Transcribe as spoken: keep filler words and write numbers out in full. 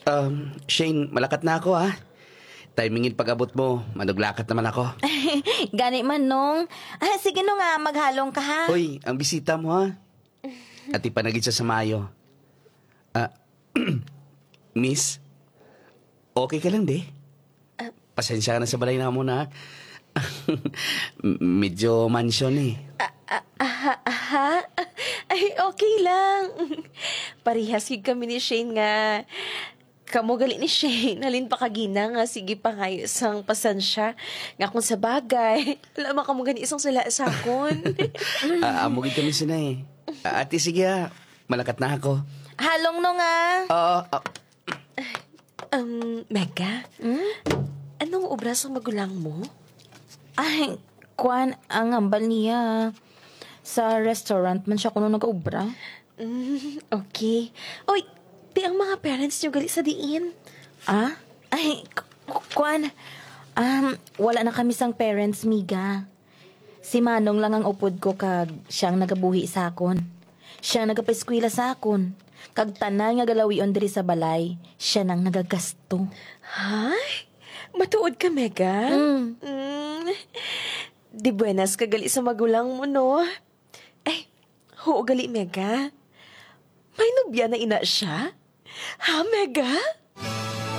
Um, Shane, malakat na ako, ha? Timingin pag-abot mo, manuglakat naman ako. Gani man, Nong. Ah, sige, Nong, ah, maghalong ka, ha? Hoy, ang bisita mo, ha? Ati pa na gid sa samayo. Ah, Miss, okay ka lang, di? Pasensya ka na sa balay namon, ha? Medyo mansion, eh. Ah, ah, aha, aha. Ay, okay lang. Parihas gid kami ni Shane nga kamo gali ni Shane, halin pa kagina nga sige pangayo sang pasensya nga kung sa bagay, wala man kamo gani isang sala sa akon. Ah, amo gid kami sina, eh. Ah, ate, sige, ha. Malakat na ako. Halong, Nong, ah. Oo, ah, Um, Mega, anong obra sang magulang mo? Ay, kwan, ang hambal niya. Sa restaurant man siya kuno nag-obra. Mm, okay. Oy, di ang mga parents niyo gali sa diin? Ah? Ay, k- k- kwan. Um, wala na kami sang parents, Miga. Si Manong lang ang upod ko kag siyang nagabuhi sa akon. Siya nagapaeskwela sa akon. Kag tanan nga galawion diri sa balay, siya nang nagagasto. Hay? Matuod ka, Mega? Mm. Mm. Di buenas ka gali sa magulang mo, no? Ay, huo gali, Mega. May nobya na ina siya? Ha, Mega?